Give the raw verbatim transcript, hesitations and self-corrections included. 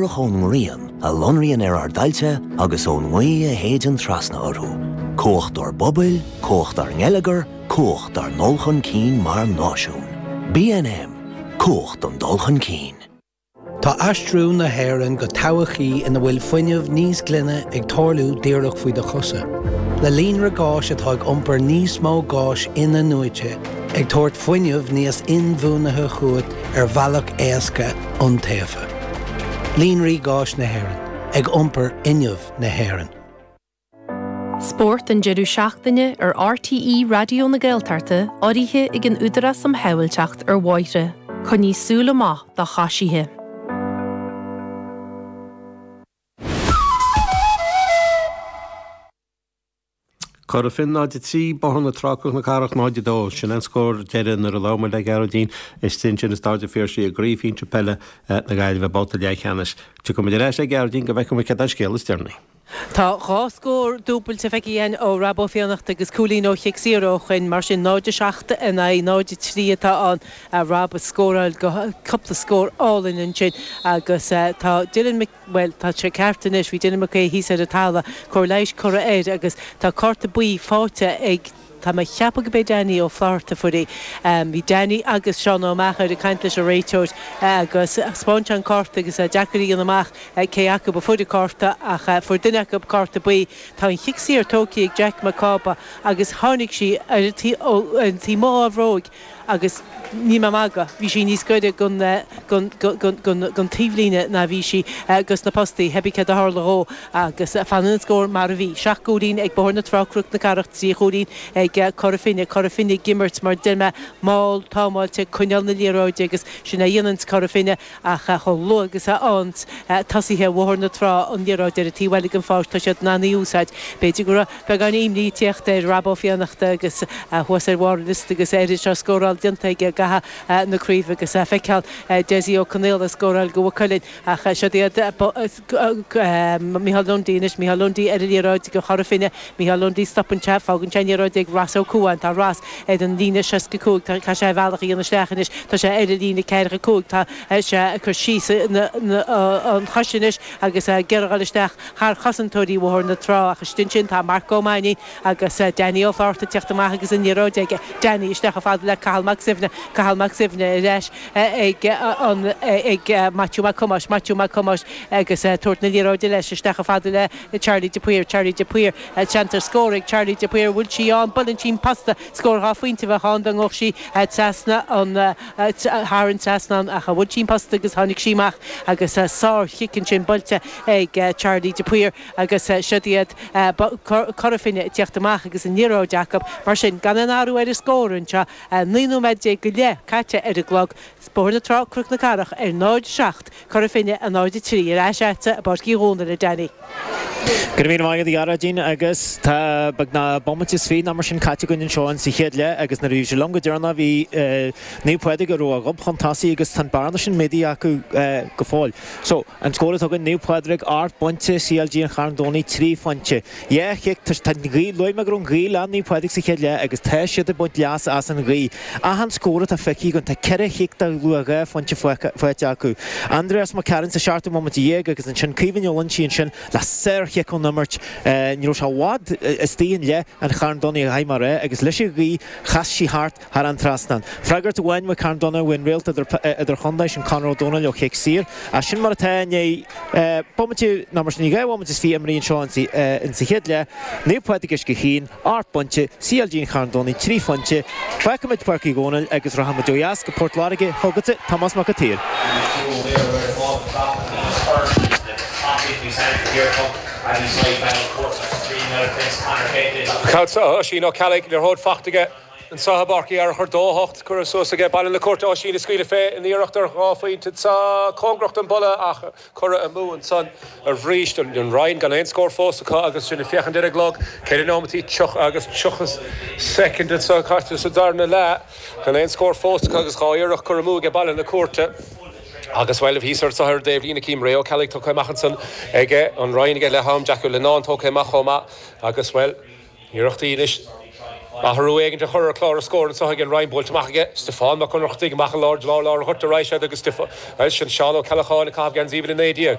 díreach ón ngrian a lonraíonn ar ár dtailte agus ón ngaoth a shéideann trasna orthu. Cumhacht ár bpobail, cumhacht ár ngeilleagar, cumhacht ár ndul chun cinn mar náisiún. B N M, cumhacht an dul chun cinn. Tá aistriú na hÉireann go todhchaí ina bhfuil fuinneamh níos glaine ag tarlú díreach faoi do chosa. Le líonra gáis atá ag iompar níos mó gáis in-athnuaite, ag tabhairt fuinneamh níos inbhuanaithe chugat ar bhealach éasca iontaofa. Líonraí gáis na hÉireann, ag iompar fhuinneamh na hÉireann. Spórt an deireadh seachtaine ar R T E Raidió na Gaeltachta urraithe ag an Údarás um Shábháilteacht ar Bhóithre, Coinnigh súil amach do choisithe. Cora Finne náid a trí, Bóthar na Trá na Cathrach náid a dó. Sin an scór deiridh nuair a labhair muid le Gearóidín istigh ansin i Staid an Phiarsaigh i gcraobh shinsir peile na Gaillimhe, babhta leathcheannais. Tiocfaimid ar ais le Gearóidín go bhfeicfimid cad an scéal is deireanaí. Tá dhá scór dúbailte feicthe againn ó Rob Ó Fiannachta agus cúilín ó chic saor ó Chuinn, mar sin náid a seacht in aghaidh náid a trí atá ann. Rob ag scóráil go cúpla scór álainn ansin agus tá Dylan, well, tá sé ceart anois. Bhí Dylan McQuay thíos ar an talamh, cóir leighis curtha air agus tá cárta buí faighte ag, tá mé ag ceapadh go b'é Danny Ó Flatharta a fuair í. Bhí Danny agus Seán Ó Meachair ag caint leis an réiteoir agus spáin an cárta agus deacair a dhéanamh amach cé acu a fuair an cárta, ach fuair duine acu cárta buí. Tá an chic saor tógtha ag Jack Mac Cába agus tháinig sí ar an taobh amuigh dá bhróig agus ní mé magadh, bhí sí níos gaire don don taobhlíne ná bhí sí gus na postaí. Pé ar bith céard a tharla dhó agus fanann an scór mar a bhí. Seacht gcúilín ag Bóthar na Trá Cnoc na Cathrach, trí chúilín ag Cora Finne. Cora Finne ag imirt mar deir mé mall támáilte, coinneáil na liathróide, agus sin a dhéanann Cora Finne, ach chomh luath agus a fhaigheann tosaithe Bhóthar na Trá an liathróid ar an taobh eile den pháirc, tá siad in ann í a úsáid. B'fhéidir go raibh beagán imní ag tíocht ar Rob Ó Fiannachta agus thuas ar bharr an liosta agus air seo scóráil déanta aige i gcaitheamh na craoibhe agus feiceáil Desi Ó Conaola scóráil go Cuilinn, ach seo iad Micheál Lundy anois. Micheál Lundy ar an liathróid go Chora Finne. Micheál Lundy, stopann sé, fágann sé an liathróid ag Ross Ó Cuain. Tá Ross ar an líne seasca cúig. Tá sé bealach a dhéanamh isteach anois. Tá sé ar an líne ceathracha cúig. Tá sé ag cur síos an chois anois agus ag iarraidh dul isteach thar chosantóirí Bhóthar na Trá, ach istigh ansin tá Marc Ó Mainnín agus Danny Ó Flatharta ag teacht amach agus an liathróid aige. Danny isteach chomh fada le Cathal Mac Suibhne. Cathal Mac Suibhne ar ais ag an ag Matthew Mac Thomáis. Matthew Mac Thomáis agus tabhairt na liathróide leis isteach chomh fada le Charlie de Paor. Charlie de Paor, seans ar scór ag Charlie de Paor. Bhfuil sí ann? Buaileann sí an posta. Scór dhá phointe bheadh ann dá ngabhadh sí trasna an thar an trasnán, ach bhuail sí an posta agus tháinig sí amach agus sárchic ansin buailte ag Charlie de Paor. Agus seo iad Cora Finne ag teacht amach agus an liathróid acu, mar sin gan aon athrú ar an scór anseo. Naoi nóiméad déag go leith caite ar an gclog. Bóthar na Trá Cnoc na Cathrach ar náid seacht, Cora Finne a náid trí. Ar ais agatsa i bPáirc Uí Dhónaill, a Danny. Go raibh míle maith agat, a Ghearóidín. Agus tá beagnach bomaite is fiche nó mar sin caite againn anseo in sa chéad leath agus nuair a bhí sé liom go deireanach bhí Naomh Pádraig a raibh a ghob chun tosaigh agus tá an bearna sin méadaithe acu go fóill. So an scór atá againn, Naomh Pádraig ocht bpointe, C L G an Charn Domhnaigh trí phointe. Dhá chic. Tá an ghaoth, luaigh mé go raibh an ghaoth le Naomh Pádraig sa chéad leath agus tá siad ag baint leas as an ghaoth. Achan scór atá feicthe againn, tá ceithre chic de luach dhá phointe faighte acu. Andreas Mac Cearáin sa seachtú bomaite dhéag agus ansin Caoimhín Ó Loinsigh ansin le sárchic ón imirt. Ní raibh sé i bhfad istigh i leith an Charn Domhnaigh a chaith mar é agus leis an ghaoth chas sí thart thar an trasnán. Freagairt amháin ó Carn Domhnach bhain réalt idir idir chontae sin Conor Ó Dónaill ó chic saor. As sin mar atá inné bomaite ná mar sin dhá bhomaite is fiche imrithe anseo in sa chéad leath. Naomh Pádraig Uisce Chaoin, ocht bpointe, C L G an Charn Domhnaigh trí phointe. Fágfaimid Páirc Uí Dhónaill agus rachaimid ó dheas go Port Láirge chugatsa, Tomás Mac an tSaoir. Oisín Ó Ceallaigh, liathróid faighte aige anseo i bPáirc Uí Fhearchair, dó hocht curtha suas aige Baile na Cúirte. Oisín ag scaoileadh fé in iarracht ar dhá phointe anseo, cóngarach don buille ach curtha amú ansan arís. An Rinn gan aon scór fós acu agus sinn ag féachaint ar an gclog, ceithre nóimeataí tríocha agus tríocha soicind anseo caite sa darna leath, gan aon scór fós acu agus dhá iarracht curtha amú aige Baile na Cúirte. Agus bhuel, thíos ar an dtaobhlíne cím Ray Ó Ceallaigh tugtha amach ansan aige an Rinn aige leath am, Jackie Linnane tógtha amach chomh maith agus bhuel, iarrachtaí anois athrú éigin a chur ar chlár na scór anseo ag an Rinn. Buailte amach aige Stiofán Mac Ionnrachtaigh amach i lár lár lár an ghoirt ar aghaidh siad agus bhuel, sin Seán Ó Ceallacháin ag caitheamh geansaí uimhir a naoi déag.